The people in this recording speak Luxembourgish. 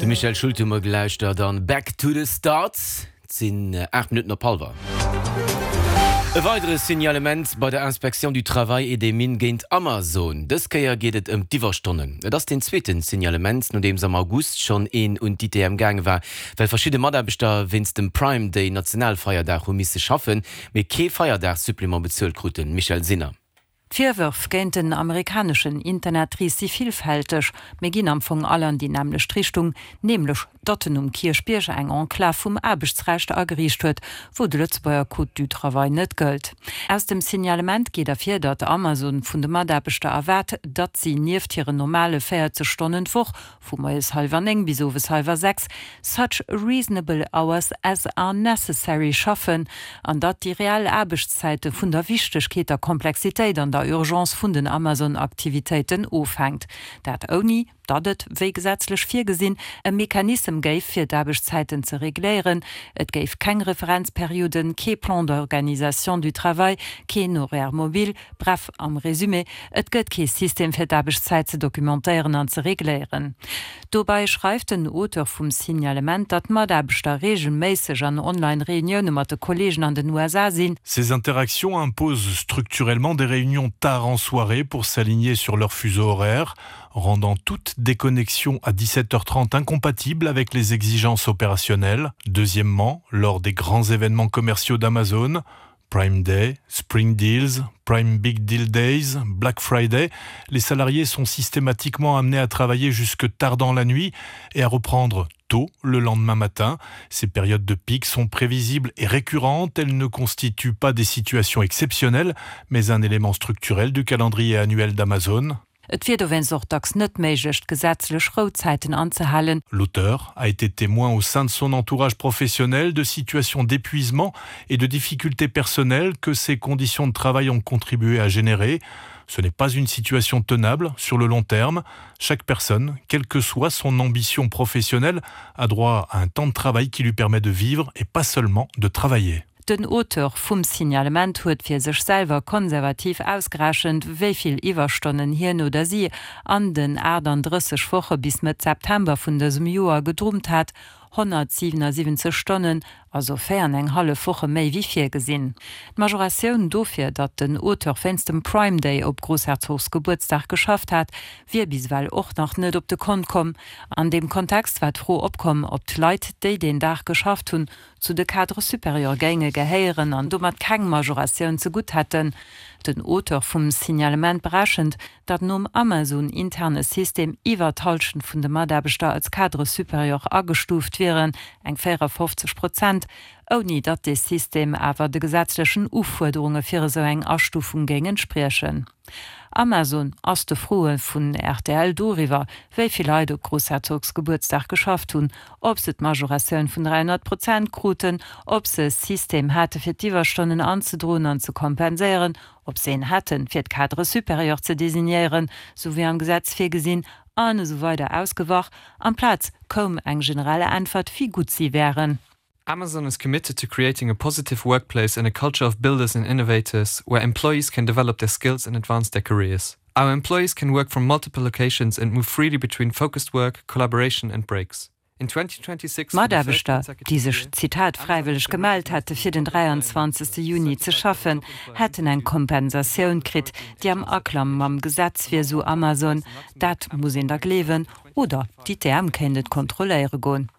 De Michael Schulte hu mer gelauschtert an Back to the Start. Et sinn 8 Minutten op hallwer. E weidere Signalement bei der Inspection du Travail et des Mines géint Amazon. Dës Kéier geet et ëm d'Iwwerstonnen. Et ass deen zweeten Signalement, nodeems am August schonn een un d'ITM gaange war, well verschidde Mataarbechter wéinst dem Prime Day, Nationalfeierdag, hu misse schaffen, mee kee Feierdagsupplément bezuelt kruten. Michèle Sinner. D'Virwërf géint den amerikaneschen Internetris si villfälteg, mee ginn am Fong all an déi nämmlecht Richtung, nämlech datt en um Kierchbierg eng Enclave vum Aarbechtsrecht ageriicht huet, wou de Lëtzebuerger Code du Travail net gëllt. Aus dem Signalement geet ervir, datt Amazon vun de Mataarbechter erwaart, datt si nieft hiren normale 40 Stonnen d'Woch Vu moies hallwer 9 bis owes hallwer 6, such reasonable hours as are necessary, schaffen, an datt déi reell Aarbechtszäite vun der Wichtegkeet, der Komplexitéit an der Urgence vun den Amazon-Aktivitéiten ofhänkt. Dat ouni datt et, wéi gesetzlech virgesinn, e Mechanissem géif, fir d'Aarbechtszäiten ze regléieren. Et géif keng Referenzperioden, kee Plan d'organisation du travail, keen Horaire mobile, Bref, am Résumé, et gëtt kee System fir d'Aarbechtszäit ze documentéieren an ze regléieren. Dobei schreift den Auteur vum Signalement, datt d'Mataarbechter reegelméisseg an Online-Reunioune mat de Kolleegen an den USA sinn. Ces interactions imposent structurellement des réunions tard en soirée pour s'aligner sur leur fuseau horaire, rendant toute déconnexion à 17h30 incompatible avec les exigences opérationnelles. Deuxièmement, lors des grands événements commerciaux d'Amazon, Prime Day, Spring Deals, Prime Big Deal Days, Black Friday, les salariés sont systématiquement amenés à travailler jusque tard dans la nuit et à reprendre tôt le lendemain matin. Ces périodes de pic sont prévisibles et récurrentes, elles ne constituent pas des situations exceptionnelles, mais un élément structurel du calendrier annuel d'Amazon. Et wier dowéinst och dacks net méiglech, d'gesetzlech Rouzäiten anzehalen. L'auteur a été témoin au sein de son entourage professionnel de situations d'épuisement et de difficultés personnelles que ces conditions de travail ont contribué à générer. Ce n'est pas une situation tenable sur le long terme. Chaque personne, quelle que soit son ambition professionnelle, a droit à un temps de travail qui lui permet de vivre et pas seulement de travailler. Den Auteur vum Signalement huet fir sech selwer konservativ ausgerechent, wéi vill Iwwerstonnen hien oder si an den 38 Woche bis Mëtt September vun dësem Joer gedrummt hat, 177 Stonnen, also 4 an eng hallef Woche méi wéi virgesinn. D'Majoratioun dofir, datt den Auteur wéinst dem Prime Day op Groussherzogsgebuertsdag geschafft hat, wier bis ewell och nach net op de Kont komm. An deem Kontext war d'Fro opkomm, ob d'Leit, déi deen Dag geschafft hunn, zu de Cadres supérieurs géinge gehéieren an domat keng Majoratioun zegutt hätten. Den Auteur vum Signalement berechent, datt nom Amazon-interne System iwwer d'Hallschent vun de Mataarbechter als Cadre supérieur agestuuft wieren, eng 54 Prozent, ouni datt dee System awer de gesetzlechen Ufuerderunge fir esou eng Astufung géing entspriechen. Amazon ass de Froe vun rtl doriwwer, wéi vill Leit op Groussherzogsgebuertsdag geschafft hunn, ob se d'Majoratioun vun 300 Prozent kruten, ob se e System hate fir d'Iwwerstonnen anzedroen an ze kompenséieren, ob se een hätten, fir d'Cadres supérieurs ze designéieren, sou wéi am Gesetz virgesinn, an esou weider ausgewach. Amplaz koum eng generell Äntwert, wéi gutt si wären. Amazon is committed to creating a positive workplace and a culture of builders and innovators where employees can develop their skills and advance their careers. Our employees can work from multiple locations and move freely between focused work, collaboration and breaks. In 2026 Mataarbechter, déi sech, Zitat, fräiwëlleg gemellt hätte fir den 23 Juni ze schaffen, hätten eng Kompensatioun kritt, déi am Aklang mam Gesetz wier, sou Amazon. Dat muss een da gleewen, oder d'ITM kéint et kontrolléiere goen.